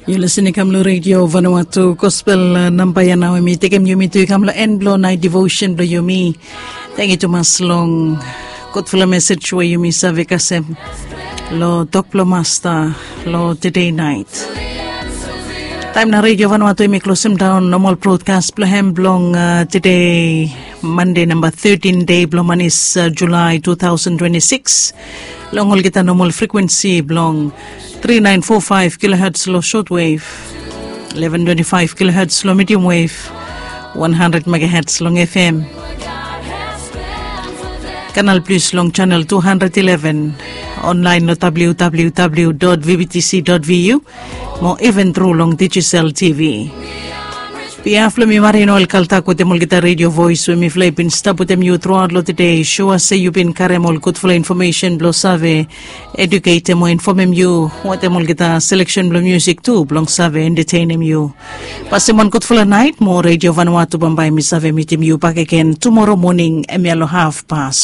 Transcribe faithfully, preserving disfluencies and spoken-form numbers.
Yu lisin i kam long redio Vanuatu gospel namba ya nao em i tekem yumi tu i kam long en blong nait devotion blong yumi. Tengiu tumas long gudfala mesej we yumi save kasem long tok blong masta long tede nait. Taem na redio Vanuatu em i klosem daon nomal brodkas blong hem blong tede Mande namba thirtin dei blong manis Julai two thousand twenty-six. Long olgeta nomal frekuensi blong three nine four five kilohertz long shortwave, eleven twenty-five kilohertz long medium wave, one hundred megahertz long F M. Kanal plus long channel two hundred eleven, online long www.vbtc.vu, mo even tru long digital T V. Biaf long mi marin ol kaltak wetem olgeta redio voes we mifala i bin stap wetem yu truaot long tede. Sua se yu bin karem ol gudfala infomesen blong save eduketem o infomem yu wetem olgeta seleksen blong musik tu blong save entetenem yu. Pasem wan gudfala nait mo redio Vanuatu bambae mi save mitim yu bakegen tumoro moning em ya long haf pas